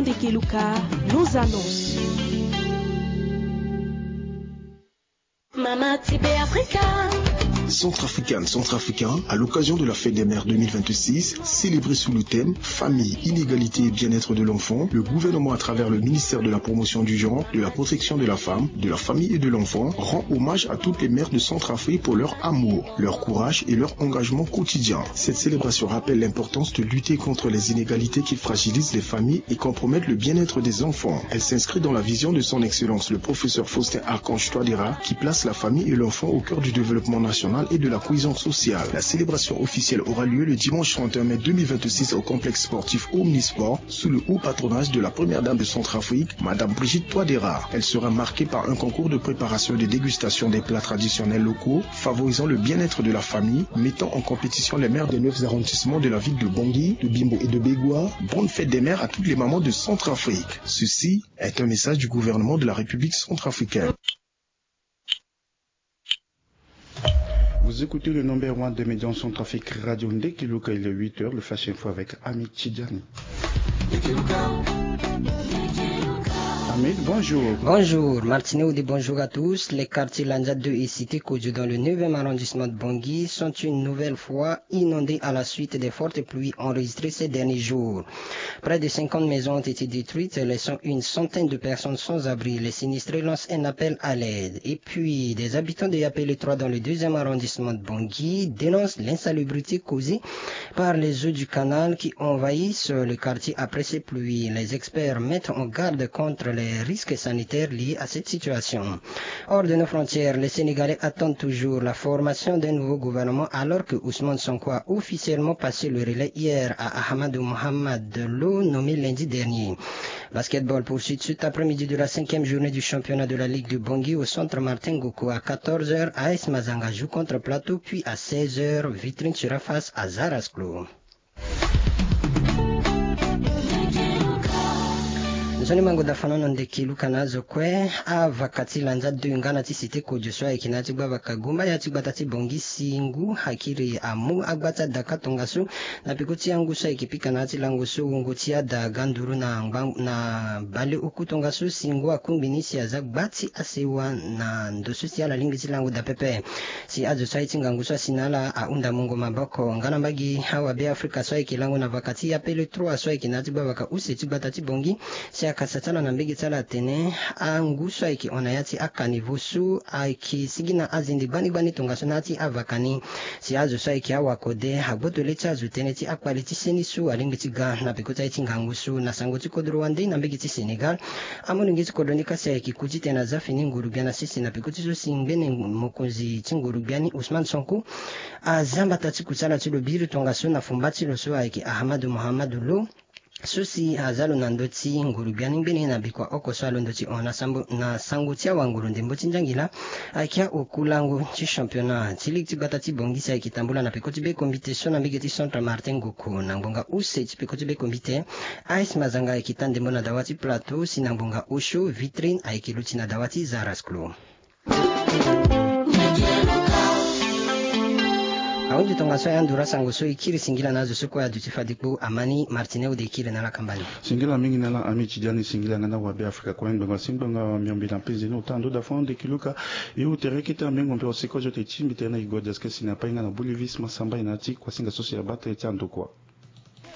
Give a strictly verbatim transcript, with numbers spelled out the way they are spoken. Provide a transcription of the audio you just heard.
Ndeke Luka, nos annonces. Mama Tibe Africa. Centrafricaine, Centrafricain, à l'occasion de la fête des mères deux mille vingt-six, célébrée sous le thème Famille, inégalité et bien-être de l'enfant, le gouvernement, à travers le ministère de la Promotion du genre, de la Protection de la Femme, de la Famille et de l'Enfant, rend hommage à toutes les mères de Centrafrique pour leur amour, leur courage et leur engagement quotidien. Cette célébration rappelle l'importance de lutter contre les inégalités qui fragilisent les familles et compromettent le bien-être des enfants. Elle s'inscrit dans la vision de son excellence, le professeur Faustin Archange Touadéra, qui place la famille et l'enfant au cœur du développement national et de la cohésion sociale. La célébration officielle aura lieu le dimanche trente et un mai deux mille vingt-six au complexe sportif Omnisport, sous le haut patronage de la première dame de Centrafrique, Madame Brigitte Touadéra. Elle sera marquée par un concours de préparation et de dégustation des plats traditionnels locaux, favorisant le bien-être de la famille, mettant en compétition les mères des neuf arrondissements de la ville de Bangui, de Bimbo et de Begoua. Bonne fête des mères à toutes les mamans de Centrafrique. Ceci est un message du gouvernement de la République centrafricaine. Vous écoutez le number one des médias en Centrafrique, Radio Ndeki Luka, il est huit heures, le Flash Info avec Ami Tidjani. Ami, bonjour. Bonjour, Martineau, bonjour à tous. Les quartiers Lanja deux et Cité Kodjo dans le neuvième arrondissement de Bangui sont une nouvelle fois inondés à la suite des fortes pluies enregistrées ces derniers jours. Près de cinquante maisons ont été détruites, laissant une centaine de personnes sans abri. Les sinistrés lancent un appel à l'aide. Et puis, des habitants de Yapele trois dans le deuxième arrondissement de Bangui dénoncent l'insalubrité causée par les eaux du canal qui envahissent le quartier après ces pluies. Les experts mettent en garde contre les risques sanitaires liés à cette situation. Hors de nos frontières, les Sénégalais attendent toujours la formation d'un nouveau gouvernement alors que Ousmane Sonko a officiellement passé le relais hier à Ahmadou Mohamed Lo, nommé lundi dernier. Basketball poursuit cet après-midi de la cinquième journée du championnat de la Ligue de Bangui au centre Martin Goko à quatorze heures. A S Mazanga joue contre Plateau, puis à seize heures, Vitrine sera face à Zarasklo. Nzoni mango da fanono ndeki luka na azo kue. Avaka ti Lanja deux nga na ti Cité Kodjo so ayeke na ya ti gba vaka gumba ya ti gbata ti Bangui si ngu akiri amu agba ti adaka tongaso na peko ti angu so ayeke pika na ya ti lango so wungo ti ada ga nduru na ngba na bale oku tongaso si ngu akungbi ni si aza gba ti asewa na ndo so si ala lingbi ti lango daa pepe. Si azo so aye ti ngangu so asi na ala ahunda mungo maboko nga na mbage awabe Afrika so ayeke lango na vaka ti Yapele trois so ayeke na ya ti gba vaka use ti gbata ti Bangui. Si akasa ti ala na mbege ti ala atene angu so ayeke hon na ya ti akanivo so ayeke sigi na azende gbani gbani tongaso na ya ti avaka ni. Si azo so ayeke awakode agboto le ti azo tënë ti akpale ti seni so alingbi ti ga na peko ti aye ti ngangu so na sango ti kodro wande na mbege ti Sénégal. Amolenge ti kodro ni kasi ayeke ku titene aza fini nguru-gbia na sese na peko ti so si ngbene mokonzi ti nguru-gbia ni Ousmane Sonko aza mbata ti kusala ti lo biri tongaso na fumba ti lo so ayeke Ahmadou Mohamadou Lo. So si aza lo na ndö ti nguru-gbia ni ngbene na bikua oko so alondo ti hon na sango ti awanguru ndembo ti nzangila. Ayeke aoku lango ti championnat ti ligue ti gbata ti Bangui si ayeke tambula na peko ti be kombite so na mbege ti centre Martin Goko na ngbonga use ti peko ti be kombite. A S Mazanga ayeke ta ndembo na dawa ti Plateau si na ngbonga osio Vitrine ayeke luti na dawa ti Zarasklo. Ahunzi tongaso aye anduru asango so e kiri singila na azo so kue aduti fade kpo. Amani Martineau de kiri na ala kamba ni. Singila mingi na ala Ami Tidjani, singila nga na wabe Afrika kue ngbonga si ngbonga miombe na penze ni ota ndo da fo ande kiluka. E ute reke ti amengo mpe oseko zo te ti mbi tene na e gode aske si na pai nga na bolivis masamba e na ya ti kuasinga so si abaa tënë ti andokua.